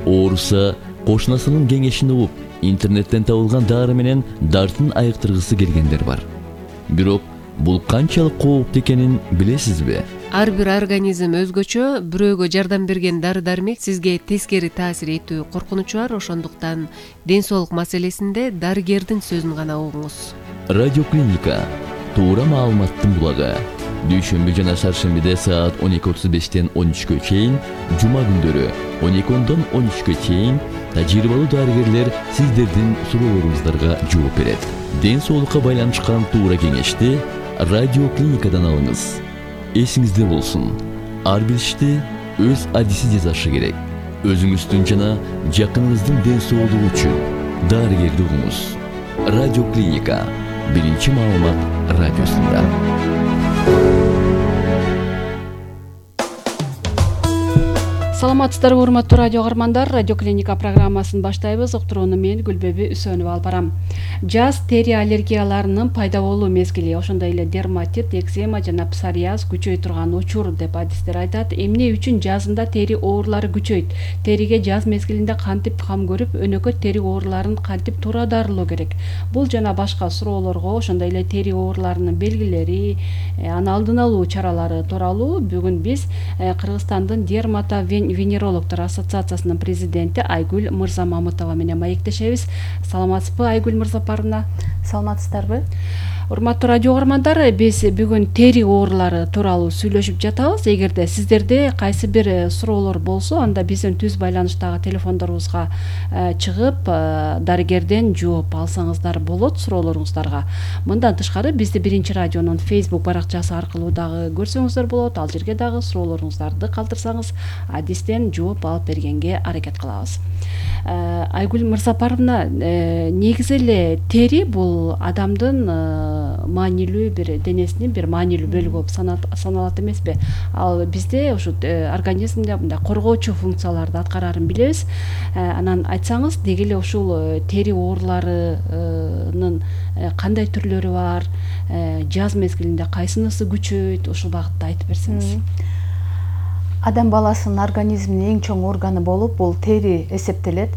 ооруса кошунасынын кеңешин угуп, интернеттен табылган дары менен дартын айыктыргысы келгендер бар. Бирок бул канчалык кооптуу экенин билесизби? Ар бир организм өзгөчө, бирөөгө жардам берген дары-дармек сизге тескери таасир этүү коркунучу бар, ошондуктан ден соолук маселесинде дарыгердин сөзүн гана угуңуз. Радиоклиника туура маалыматтын булагы. Дүйшөмбү жана шаршембиде саат 12:35 13-кө чейин, жума күндөрү 12-дон 13-кө чейин тажрыйбалуу дарыгерлер сиздердин суроолоруңуздарга жооп берет. Ден соолукка байланышкан туура кеңешти радиоклиникадан алыңыз. Эсиңизде болсун, ар бир ишти өз адиси жасашы керек. Өзүңүздүн жана жакыныңыздын ден соолугу үчүн дарыгерди угуңуз. Радиоклиника биринчи маалымат радиосунда. Саламатсыздарбы, урматтуу радио каармандар. Радиоклиника программасын баштайбыз. Уктурууну мен Гүлбеби Үсөнова алып барам. Жаз тери аллергияларынын пайда болуу мезгили, ошондой эле дерматит, экзема жана псориаз күчөй турган учур деп адистер айтат. Эмне үчүн жазында тери оорулары күчөйт? Териге жаз мезгилинде кантип кам көрүп, өнөкөт тери ооруларын кантип туура дарылоо керек? Бул жана башка суроолорго, ошондой эле тери ооруларынын белгилери, аны алдын алуу чаралары тууралуу бүгүн биз Кыргызстандын венерологдор ассоциациясынын президенти Айгүл Мырзамамытова менен маектешебиз. Саламатсызбы, Айгүл Мырзапаровна? Саламатсыздарбы? Урматтуу радио каармандар, биз бүгүн тери оорулары тууралуу сүйлөшүп жатабыз. Эгерде сиздерде кайсы бир суроолор болсо, анда биздин түз байланыштагы телефондорубузга чыгып, дарыгерден жооп алсаңыздар болот суроолоруңуздарга. Мындан тышкары бизди Биринчи радионун Facebook баракчасы аркылуу дагы көрсөңүздөр болот. Ал жерге дагы суроолоруңуздарды калтырсаңыз, адистен жооп алып бергенге аракет кылабыз. Айгүл Мырзапаровна, негизи эле тери бул адамдын маанилүү бир денесинин бир маанилүү бөлүгү болуп саналат эмеспи? Ал бизде ушу организмде мындай коргоочу функцияларды аткарарын билебиз. Анан айтсаңыз, деги эле ушул тери ооруларынын кандай түрлөрү бар? Жаз мезгилинде кайсынысы күчөйт? Ушул багытта айтып берсеңиз. Адам баласынын организминин эң чоң органы болуп, бул тери эсептелет.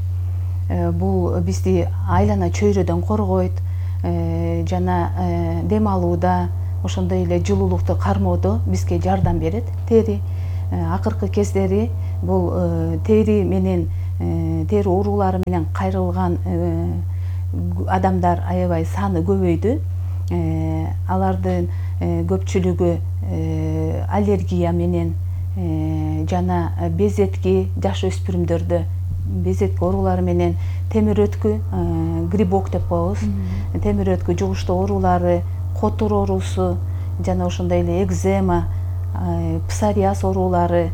Бул бизди айлана чөйрөдөн коргойт, жана дем алууда, ошондой эле жылуулукту кармоодо бизге жардам берет тери. Акыркы кездери бул тери менен тери оорулары менен кайрылган адамдар аябай саны көбөйдү. Алардын көпчүлүгү аллергия менен жана безетки, жаш өспүрүмдөрдө безетки оорулары менен темир өткү, грибок деп коебуз. Темир өткү жугуштуу оорулары, котур оорусу жана ошондой эле экзема, псориаз оорулары,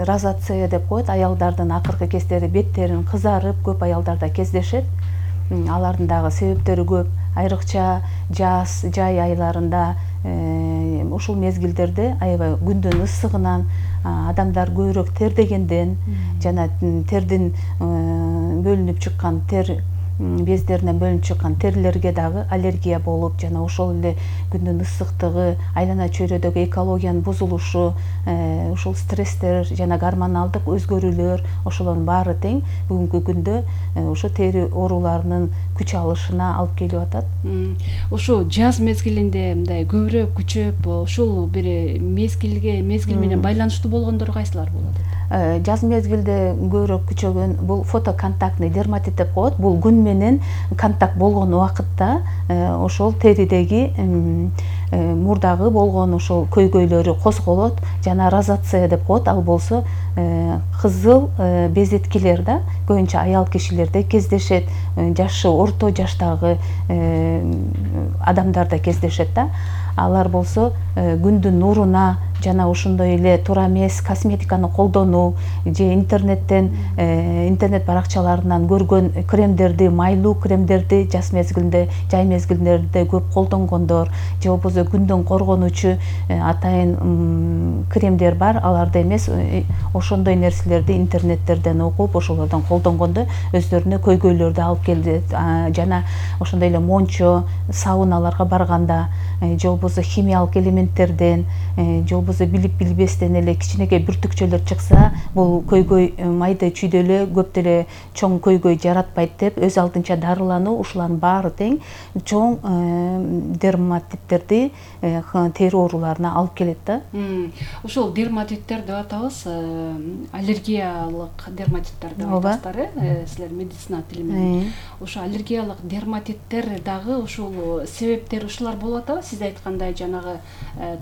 розация деп коет. Аялдардын акыркы кездери беттерин кызарып, көп аялдарда кездешет. Алардын дагы себептери көп. Айрыкча жаз, жай айларында, ушул мезгилдерде аябай күндүн ысыгынан, адамдар көбүрөөк тердегенден жана тердин бөлүнүп чыккан тер бездеринен бөлүнүп чыккан терлерге дагы аллергия болуп, жана ошол эле күндүн ысыктыгы, айлана чөйрөдөгү экологиянын бузулушу, ушул стресстер жана гормоналдык өзгөрүүлөр, ошолордун баары тең бүгүнкү күндө ошо тери ооруларынын күч алышына алып келип атат. Ушу жаз мезгилинде мындай көбүрөөк күчөп, ушул бир мезгил менен байланыштуу болгондор кайсылар болот? Жаз мезгилде көбүрөөк күчөгөн бул фотоконтактный дерматит деп коет. Бул күн менен контакт болгон убакытта ошол теридеги мурдагы болгон ошол көйгөйлөрү козголот, жана розация деп коет. Ал болсо кызыл безеткилер да көбүнчө аял кишилерде кездешет, жашы орто жаштагы адамдарда кездешет да. Алар болсо күндүн нуруна жана ошондой эле туура эмес косметиканы колдонуу же интернеттен интернет баракчаларынан көргөн кремдерди, майлуу кремдерди жаз мезгилинде, жай мезгилдерде көп колдонгондор же болбосо болбосо күндөн коргонуучу атайын кремдер бар. Аларды эмес, ошондой нерселерди интернеттерден окуп, ошолордон колдонгондо өздөрүнө көйгөйлөрдү алып келет. Жана ошондой эле мончо, сауналарга барганда же болбосо химиялык элементтерден же болбосо билип билбестен эле кичинекей бүртүкчөлөр чыкса, бул көйгөй майда чүйдө эле көп деле чоң көйгөй жаратпайт деп өз алдынча дарылануу, ушулардын баары тең чоң дерматиттерди, тери ооруларына алып келет да. Ушул дерматиттер деп атабыз, аллергиялык дерматиттер деп атасыздар, силер медицина тили менен. Ошо аллергиялык дерматиттер дагы ушул себептери ушулар болуп атабы? Сиз айткандай жанагы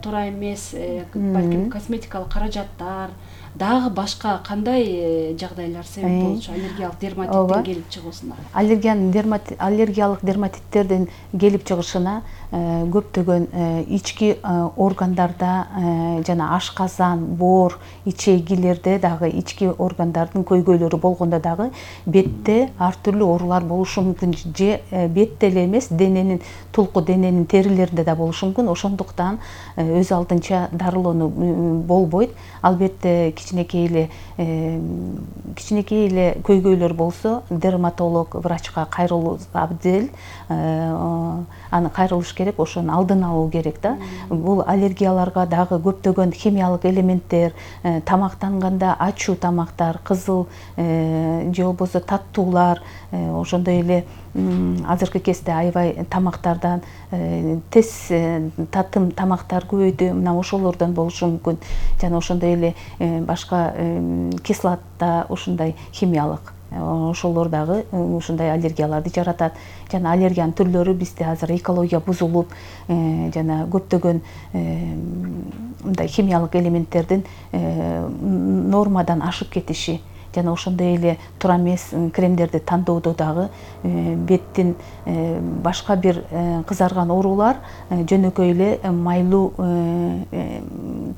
туура эмес, балким косметикалык каражаттар, дагы башка кандай жагдайлар себеп болчу аллергиялык дерматиттин келип чыгуусуна? Аллергиялык дерматиттердин келип чыгышына көптөгөн ички органдарда жана ашказан, боор, ичегилерде дагы ички органдардын көйгөйлөрү болгондо дагы бетте ар түрлүү оорулар болушу мүмкүн. Же бетте эле эмес, дененин тулку дененин терилеринде да болушу мүмкүн. Ошондуктан өз алдынча дарылануу болбойт. Албетте кичинекей эле көйгөйлөр болсо дерматолог врачка кайрылуу абдел, аны кайрылыш керек, ошонун алдын алуу керек да. Бул аллергияларга дагы көптөгөн химиялык элементтер, тамактанганда ачуу тамактар, кызыл же болбосо таттуулар, ошондой эле азыркы кезде аябай тамактардан тез татым тамактар көбөйдү, мына ошолордон болушу мүмкүн. Жана ошондой эле башка кислота, ушундай химиялык, ошолор дагы ушундай аллергияларды жаратат. Жана аллергиянын түрлөрү бизде азыр экология бузулуп, жана көптөгөн мындай химиялык элементтердин нормадан ашып кетиши, жана ошондой эле туура эмес кремдерди тандоодо дагы беттин башка бир кызарган оорулар жөнөкөй эле майлуу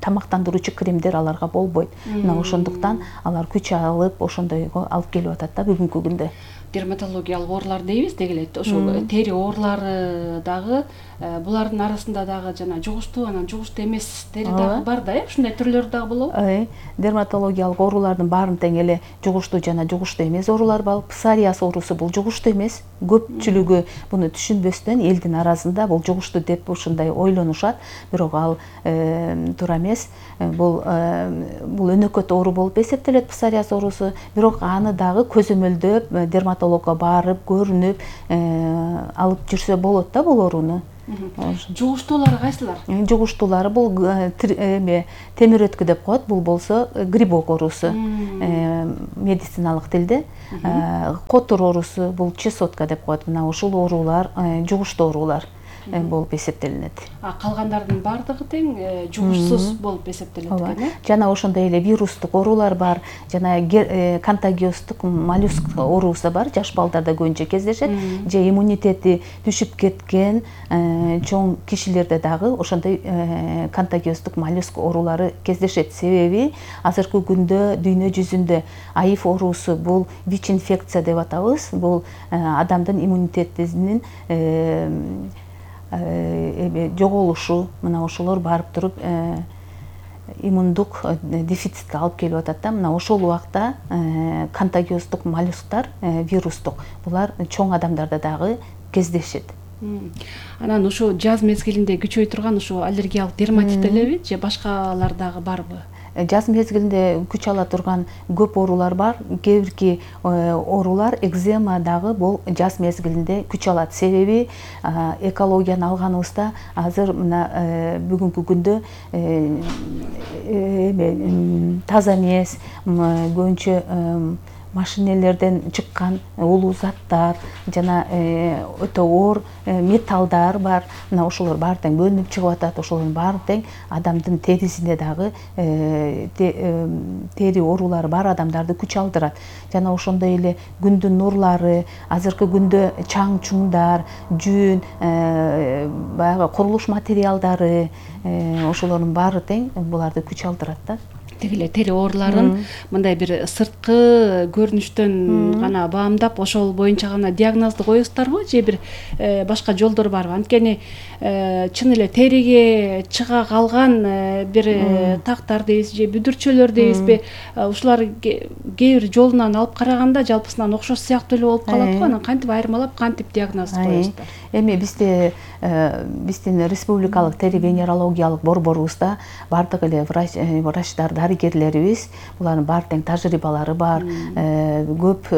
тамактандыруучу кремдер аларга болбойт. Мына ошондуктан алар күч алып ошондойго алып келип атат да бүгүнкү күндө. Дерматологиялык оорулар дейбиз деги эле, ошол тери оорулары дагы булардын арасында дагы жана жугуштуу, анан жугуштуу эмес тери дагы бар да, ушундай түрлөрү дагы болобу? Дерматологиялык оорулардын баарын тең эле жугуштуу жана жугуштуу эмес оорулар бар. Псориаз оорусу бул жугуштуу эмес. Көпчүлүгү буну түшүнбөстөн элдин арасында бул жугуштуу деп ушундай ойлонушат, бирок ал туура эмес. Бул өнөкөт оору болуп эсептелет псориаз оорусу, бирок аны дагы көзөмөлдөп дерматологко барып көрүнүп алып жүрсө болот да бул ооруну. Жугуштуулары кайсылар? Жугуштуулары бул темир өткү деп коет, бул болсо грибок оорусу медициналык тилде. Котур оорусу бул чесотка деп коет. Мына ушул оорулар жугуштуу оорулар болуп эсептелинет. Калгандардын баардыгы тең жугушсуз болуп эсептелет экен. Жана ошондой эле вирустук оорулар бар, жана контагиостук моллюск оорусу бар, жаш балдарда көбүнчө кездешет. Же иммунитети түшүп кеткен чоң кишилерде дагы ошондой контагиостук моллюск оорулары кездешет. Себеби азыркы күндө дүйнө жүзүндө АИФ оорусу бул ВИЧ-инфекция деп атабыз. Бул адамдын иммунитетинин жоголушу, мына ошолор барып туруп иммундук дефицитке алып келип атат да. Мына ошол убакта контагиостук моллюсктар, вирустук, булар чоң адамдарда дагы кездешет. Анан ушу жаз мезгилинде күчөй турган ушу аллергиялык дерматит элеби же башкалар дагы барбы? Жаз мезгилинде күч ала турган көп оорулар бар. Кээ бирки оорулар, экзема дагы бул жаз мезгилинде күч алат. Себеби экологияны алганыбызда азыр мына бүгүнкү күндө таза эмес, көбүнчө машинелерден чыккан улуу заттар жана өтө оор металлдар бар. Мына ошолор баары тең бөлүнүп чыгып атат. Ошолордун баары тең адамдын терисине дагы тери оорулары бар адамдарды күч алдырат. Жана ошондой эле күндүн нурлары, азыркы күндө чаң чуңдар, жүн, баягы курулуш материалдары, ошолордун баары тең буларды күч алдырат да. тиги эле тери ооруларын мындай бир сырткы көрүнүштөн гана баамдап ошол боюнча гана диагнозду коесуздарбы же бир башка жолдор барбы? Анткени чын эле териге чыга калган бир тактар дейбиз же бүдүрчөлөр дейбизби, ушулар кээ бир жолунан алып караганда жалпысынан окшош сыяктуу эле болуп калат го. Анан кантип айырмалап, кантип диагноз коесуздар? Эми биздин республикалык тери венерологиялык борборубузда бардык эле врачтар, дарыгерлерибиз, булардын баары тең тажрыйбалары бар. Көп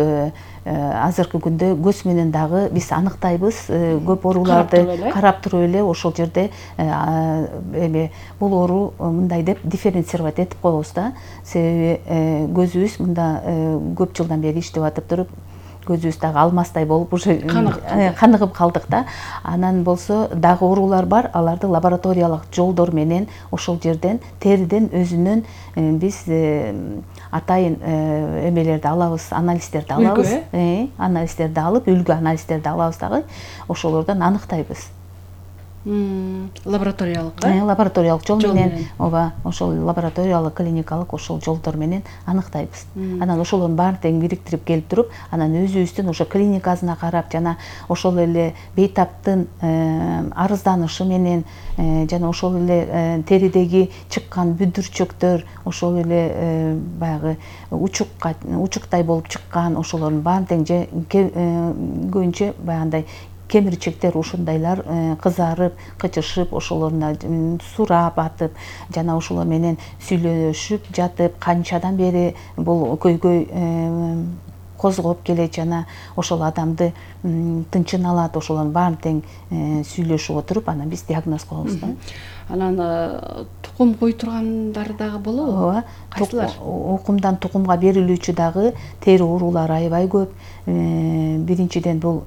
азыркы күндө көз менен дагы биз аныктайбыз, көп ооруларды карап туруп эле ошол жерде эми бул оору мындай деп дифференцировать этип коебуз да. Себеби көзүбүз мында көп жылдан бери иштеп атып туруп көзүбүз дагы алмастай болуп уже каныгып калдык да. Анан болсо дагы оорулар бар, аларды лабораториялык жолдор менен ошол жерден териден өзүнөн биз атайын эмелерди алабыз, анализдерди алабыз. Анализдерди алып, үлгү анализдерди алабыз дагы ошолордон аныктайбыз. Лабораториялык, лабораториялык жол менен, ооба, ошол лабораториялык, клиникалык ошол жолдор менен аныктайбыз. Анан ошолордун баарын тең бириктирип келип туруп, анан өзүбүздүн ошо клиникасына карап, жана ошол эле бейтаптын арызданышы менен, жана ошол эле теридеги чыккан бүдүрчөктөр, ошол эле баягы учуктай болуп чыккан, ошолордун баарын тең көбүнчө баягындай кемирчектер ушундайлар кызарып, кычышып, ошолоруна сурап атып, жана ошолор менен сүйлөшүп жатып, канчадан бери бул көйгөй козгоп келет, жана ошол адамды тынчын алат, ошолордун баарын тең сүйлөшүп отуруп, анан биз диагноз коебуз да. Анан тукум кой тургандар дагы болобу? Ооба. Кайсылар? Укумдан тукумга берилүүчү дагы тери оорулары аябай көп. Биринчиден бул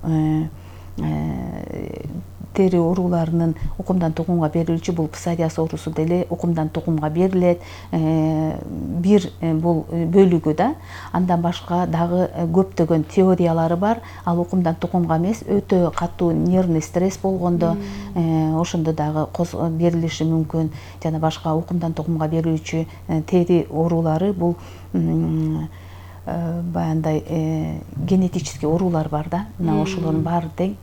тери ооруларынын укумдан тукумга берилүүчү бул псориаз оорусу деле укумдан тукумга берилет. Бир бул бөлүгү да. Андан башка дагы көптөгөн теориялары бар. Ал укумдан тукумга эмес, өтө катуу нервный стресс болгондо ошондо дагы берилиши мүмкүн. Жана башка укумдан тукумга берилүүчү тери оорулары бул баягындай генетический оорулар бар да. Мына ошолордун баары тең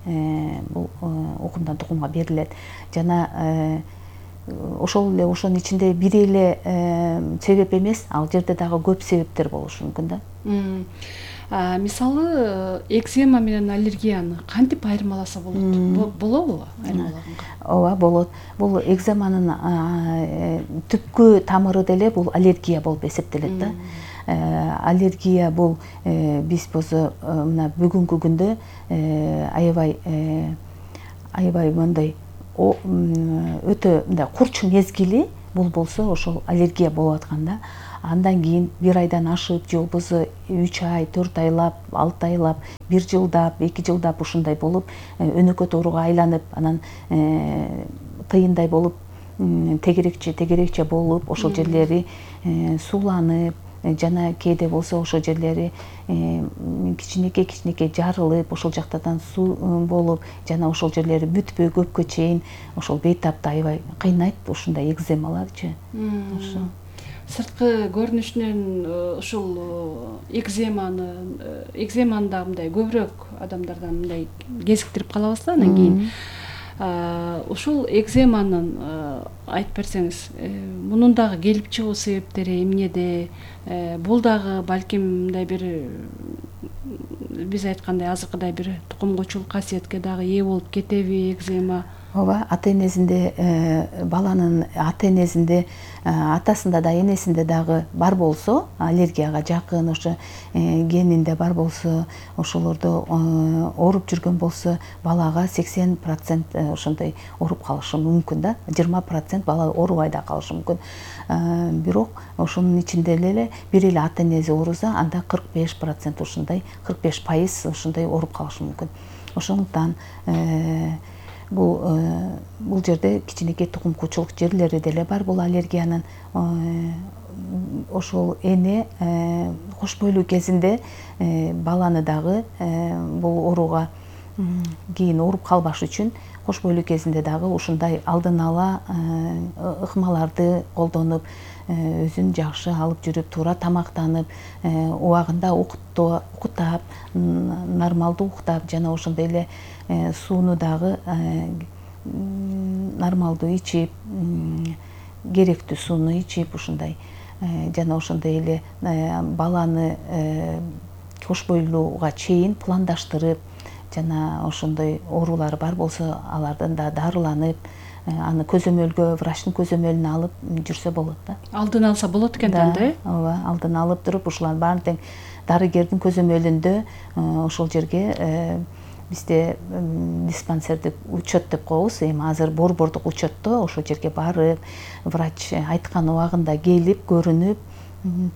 бул укумдан тукумга берилет. Жана ошол эле ошонун ичинде бир эле себеп эмес, ал жерде дагы көп себептер болушу мүмкүн да. Мисалы, экзема менен аллергияны кантип айырмаласа болот? Болобу айырмалаганга? Ооба, болот. Бул экземанын түпкү тамыры деле бул аллергия болуп эсептелет да. Аллергия бул биз болсо мына бүгүнкү күндө аябай мындай өтө мындай курч мезгили бул болсо ошол аллергия болуп аткан да. Андан кийин бир айдан ашып, же болбосо 3 ай, 4 айлап, 6 айлап, 1 жылдап, 2 жылдап ушундай болуп өнөкөт ооруга айланып, анан тыйындай болуп, тегерекче болуп, ошол жерлери сууланып, жана кээде болсо ошол жерлери кичинекей жарылып, ошол жактардан суу болуп, жана ошол жерлери бүтпөй көпкө чейин ошол бейтапты аябай кыйнайт ушундай экземаларчы. Сырткы көрүнүшүнөн ушул экземаны да мындай көбүрөөк адамдардан мындай кезиктирип калабыз да. Анан кийин ушул экземанын айтып берсеңиз, мунун дагы келип чыгуу себептери эмнеде? Бул дагы балким мындай бир биз айткандай азыркыдай бир тукумгучул касиетке дагы ээ болуп кетеби экзема? Ооба, ата-энесинде, баланын ата-энесинде, атасында да, энесинде дагы бар болсо, аллергияга жакын, ошо генинде бар болсо, ошолордо ооруп жүргөн болсо, балага 80% ошондой ооруп калышы мүмкүн да. 20% бала оорубай да калышы мүмкүн. Бирок ошонун ичинде эле бир эле ата-энеси ооруза, анда 45% ушундай, 45% ушундай ооруп калышы мүмкүн. Ошондуктан бул жерде кичинекей тукумкучулук жерлери деле бар бул аллергиянын. Ошол эне кош бойлуу кезинде баланы дагы бул ооруга кийин ооруп калбаш үчүн кош бойлуу кезинде дагы ушундай алдын ала ыкмаларды колдонуп, өзүн жакшы алып жүрүп, туура тамактанып, убагында уктап, нормалдуу уктап, жана ошондой эле сууну дагы нормалдуу ичип, керектүү сууну ичип, ушундай жана ошондой эле баланы кош бойлууга чейин пландаштырып, жана ошондой оорулары бар болсо алардан да дарыланып, аны көзөмөлгө, врачтын көзөмөлүнө алып жүрсө болот да. Алдын алса болот экен да, ооба, алдын алып туруп, ушулардын баарын тең дарыгердин көзөмөлүндө ошол жерге бизде диспансердик учет деп коебуз, эми азыр борбордук учетто ошол жерге барып, врач айткан убагында келип, көрүнүп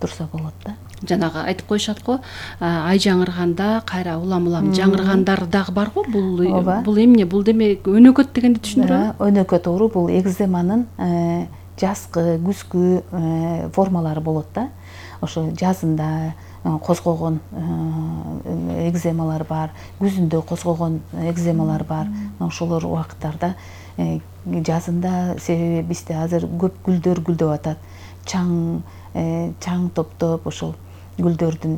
турса болот да. Жанагы айтып коюшат го, ай жаңырганда кайра улам жаңыргандар дагы бар го. Бул эмне? Бул демек өнөкөт дегенди түшүндүрөбү? Өнөкөт оору бул экземанын жазгы, күзгү формалары болот да. Ошо жазында козгогон экземалар бар, күзүндө козгогон экземалар бар. Ошолор убакыттарда жазында, себеби бизде азыр көп гүлдөр гүлдөп атат. Чаң топтоп ошол гүлдөрдүн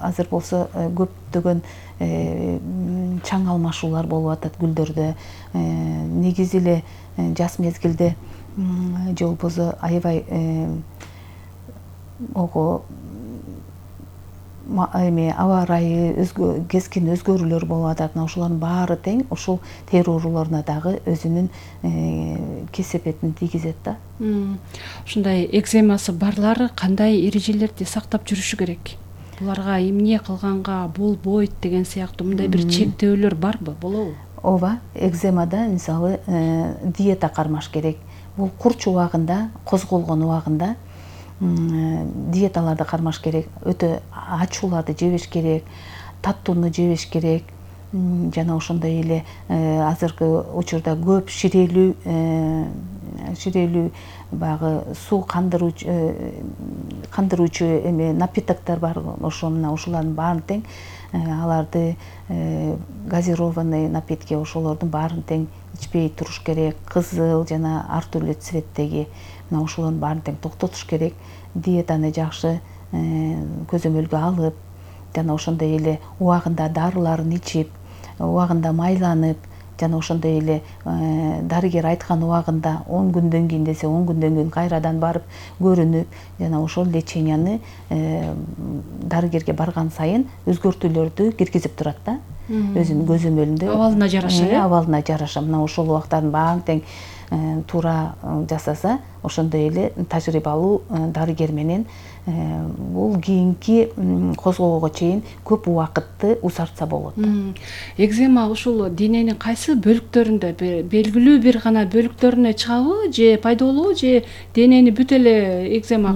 азыр болсо көптөгөн чаң алмашуулар болуп атат гүлдөрдө. Негизи эле жаз мезгилде же болбосо аябай аба ырайы кескин өзгөрүүлөр болуп атат. Мына ушулардын баары тең ушул тери оорулоруна дагы өзүнүн кесепетин тийгизет да. Ушундай экземасы барлар кандай эрежелерди сактап жүрүшү керек? Буларга эмне кылганга болбойт деген сыяктуу мындай бир чектөөлөр барбы, болобу? Ооба, экземада мисалы диета кармаш керек. Бул курч убагында, козголгон убагында диеталарды кармаш керек. Өтө ачууларды жебеш керек, таттууну жебеш керек. Жана ошондой эле азыркы учурда көп ширелүү баягы суу кандыруучу напитоктор бар. Ошолардын баарын тең аларды газированный напитки, ошолордун баарын тең ичпей туруш керек. Кызыл жана ар түрдүү цветтеги мына ошолордун баарын тең токтотуш керек. Диетаны жакшы көзөмөлгө алып, жана ошондой эле убагында дарыларын ичип, убагында майланып, жана ошондой эле дарыгер айткан убагында 10 күндөн кийин десе 10 күндөн кийин кайрадан барып көрүнүп, жана ошол леченияны дарыгерге барган сайын өзгөртүүлөрдү киргизип турат да. Өзүнүн көзөмөлүндө абалына жараша, абалына жараша мына ошол убактардын баарын тең туура жасаса, ошондой эле тажрыйбалуу дарыгер менен бул кийинки козгоого чейин көп убакытты узартса болот. Экзема ушул дененин кайсы бөлүктөрүндө, белгилүү бир гана бөлүктөрүнө чыгабы, же пайда болобу, же денени бүт эле экзема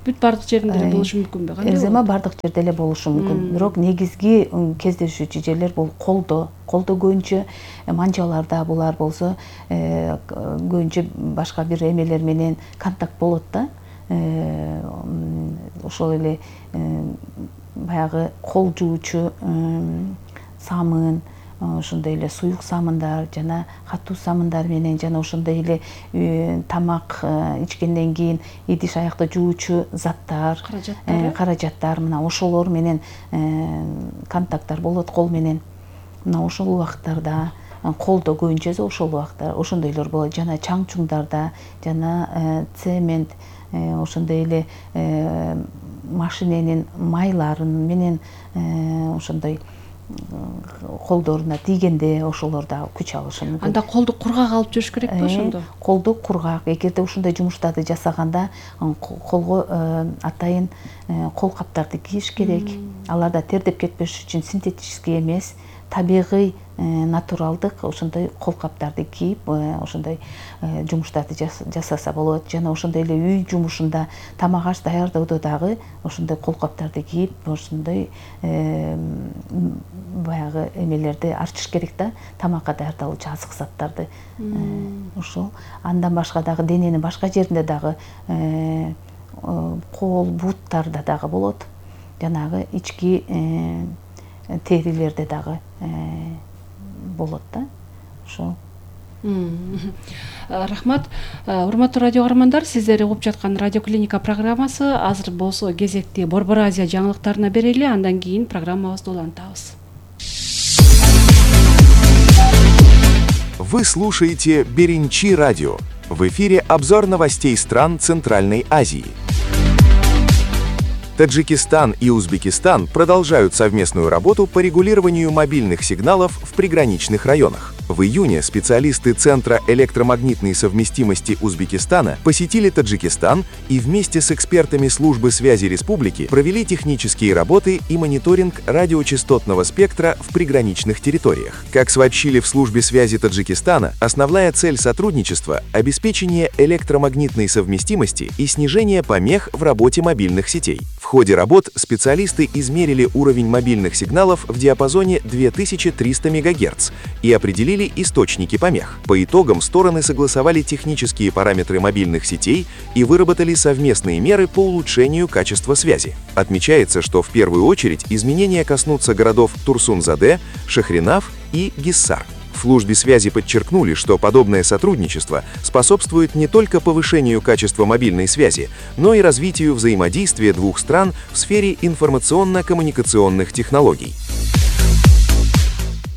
бүт бардык жеринде болушу мүмкүнбү? Экзема бардык жерде эле болушу мүмкүн. Бирок негизги кездешүүчү жерлер бул колдо. Колдо көбүнчө манжаларда, булар болсо көбүнчө башка бир эмелер менен контакт болот да. Ошол эле баягы кол жуучу самын, ошондой эле суюк самындар жана катуу самындар менен, жана ошондой эле тамак ичкенден кийин идиш аякты жуучу заттар, каражаттар, мына ошолор менен контакттар болот кол менен. Мына ошол убакыттарда колдо көбүнчө ошол убакыттар ошондойлор болот. Жана чаң чуңдарда, жана цемент, ошондой эле машиненин майларын менен ошондой колдоруна тийгенде ошолор да күч алышы мүмкүн. Анда колду кургак алып жүрүш керекпи ошондо? Колду кургак, эгерде ушундай жумуштарды жасаганда колго атайын кол каптарды кийиш керек. Аларда тердеп кетпеш үчүн синтетический эмес, табигый, натуралдык ошондой кол каптарды кийип, ошондой жумуштарды жасаса болот. Жана ошондой эле үй жумушунда, тамак аш даярдоодо дагы ошондой кол каптарды кийип, ошондой баягы эмелерди ачыш керек да, тамакка даярдалуучу азык заттарды. Ошол. Андан башка дагы дененин башка жеринде дагы кол, буттарда дагы болот. Жанагы ички терилерде дагы болот да. Ошол. Рахмат. Урматтуу радио каармандар, сиздер угуп жаткан Радио Клиника программасы. Азыр болсо кезекти Борбор Азия жаңылыктарына берели, андан кийин программабызды улантабыз. Вы слушаете Беренчи радио. В эфире обзор новостей стран Центральной Азии. Таджикистан и Узбекистан продолжают совместную работу по регулированию мобильных сигналов в приграничных районах. В июне специалисты Центра электромагнитной совместимости Узбекистана посетили Таджикистан и вместе с экспертами службы связи республики провели технические работы и мониторинг радиочастотного спектра в приграничных территориях. Как сообщили в службе связи Таджикистана, основная цель сотрудничества – обеспечение электромагнитной совместимости и снижение помех в работе мобильных сетей. В ходе работ специалисты измерили уровень мобильных сигналов в диапазоне 2300 МГц и определили источники помех. По итогам стороны согласовали технические параметры мобильных сетей и выработали совместные меры по улучшению качества связи. Отмечается, что в первую очередь изменения коснутся городов Турсун-Заде, Шахринав и Гиссар. В службе связи подчеркнули, что подобное сотрудничество способствует не только повышению качества мобильной связи, но и развитию взаимодействия двух стран в сфере информационно-коммуникационных технологий.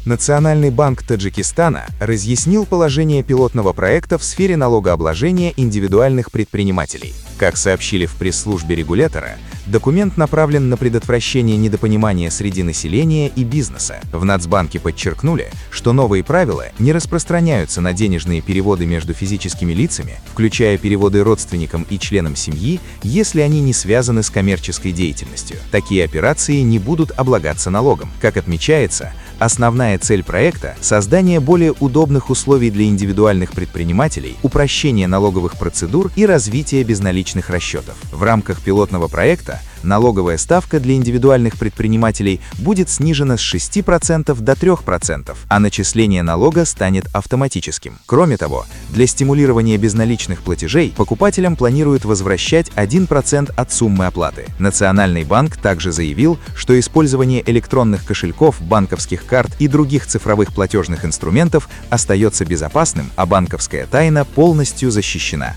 Национальный банк Таджикистана разъяснил положение пилотного проекта в сфере налогообложения индивидуальных предпринимателей. Как сообщили в пресс-службе регулятора, документ направлен на предотвращение недопонимания среди населения и бизнеса. В Нацбанке подчеркнули, что новые правила не распространяются на денежные переводы между физическими лицами, включая переводы родственникам и членам семьи, если они не связаны с коммерческой деятельностью. Такие операции не будут облагаться налогом. Как отмечается, основная цель проекта – создание более удобных условий для индивидуальных предпринимателей, упрощение налоговых процедур и развитие безналичных расчетов. В рамках пилотного проекта налоговая ставка для индивидуальных предпринимателей будет снижена с 6% до 3%, а начисление налога станет автоматическим. Кроме того, для стимулирования безналичных платежей покупателям планируют возвращать 1% от суммы оплаты. Национальный банк также заявил, что использование электронных кошельков, банковских карт и других цифровых платежных инструментов остается безопасным, а банковская тайна полностью защищена.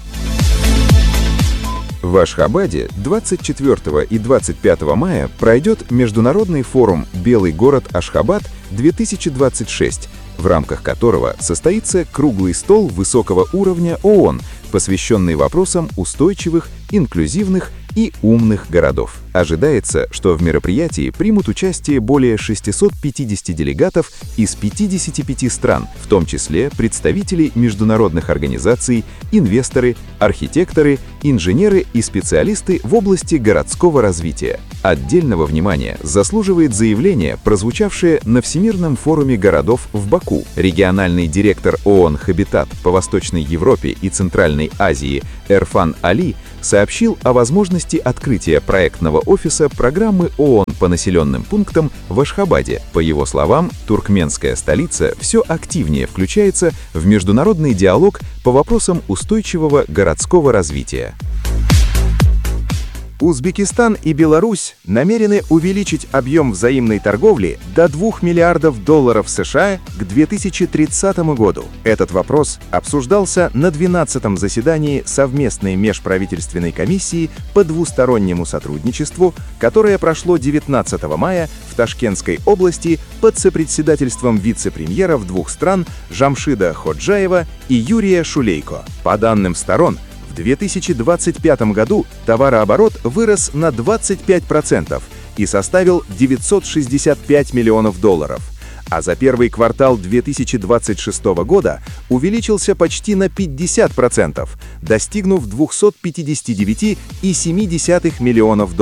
В Ашхабаде 24 и 25 мая пройдет международный форум «Белый город Ашхабад-2026», в рамках которого состоится круглый стол высокого уровня ООН, посвященный вопросам устойчивых, инклюзивных и умных городов. Ожидается, что в мероприятии примут участие более 650 делегатов из 55 стран, в том числе представители международных организаций, инвесторы, архитекторы, инженеры и специалисты в области городского развития. Отдельного внимания заслуживает заявление, прозвучавшее на Всемирном форуме городов в Баку. Региональный директор ООН «Хабитат» по Восточной Европе и Центральной Азии Эрфан Али сообщил о возможности открытия проектного офиса программы ООН по населенным пунктам в Ашхабаде. По его словам, туркменская столица все активнее включается в международный диалог по вопросам устойчивого городского развития. Узбекистан и Беларусь намерены увеличить объем взаимной торговли до $2 миллиардов США к 2030 году. Этот вопрос обсуждался на 12-м заседании совместной межправительственной комиссии по двустороннему сотрудничеству, которое прошло 19 мая в Ташкентской области под сопредседательством вице-премьеров двух стран Жамшида Ходжаева и Юрия Шулейко. По данным сторон, в 2025 году товарооборот вырос на 25% и составил $965 миллионов, а за первый квартал 2026 года увеличился почти на 50%, достигнув $259,7 миллионов.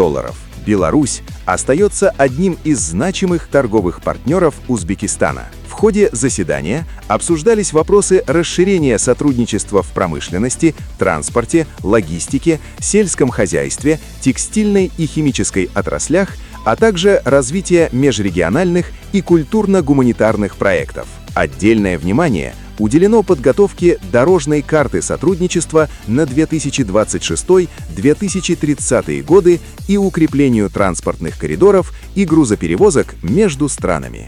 Беларусь остается одним из значимых торговых партнеров Узбекистана. В ходе заседания обсуждались вопросы расширения сотрудничества в промышленности, транспорте, логистике, сельском хозяйстве, текстильной и химической отраслях, а также развития межрегиональных и культурно-гуманитарных проектов. Отдельное внимание уделено подготовке дорожной карты сотрудничества на 2026-2030 годы и укреплению транспортных коридоров и грузоперевозок между странами.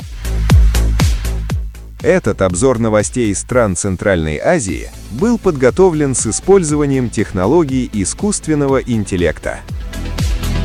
Этот обзор новостей из стран Центральной Азии был подготовлен с использованием технологий искусственного интеллекта.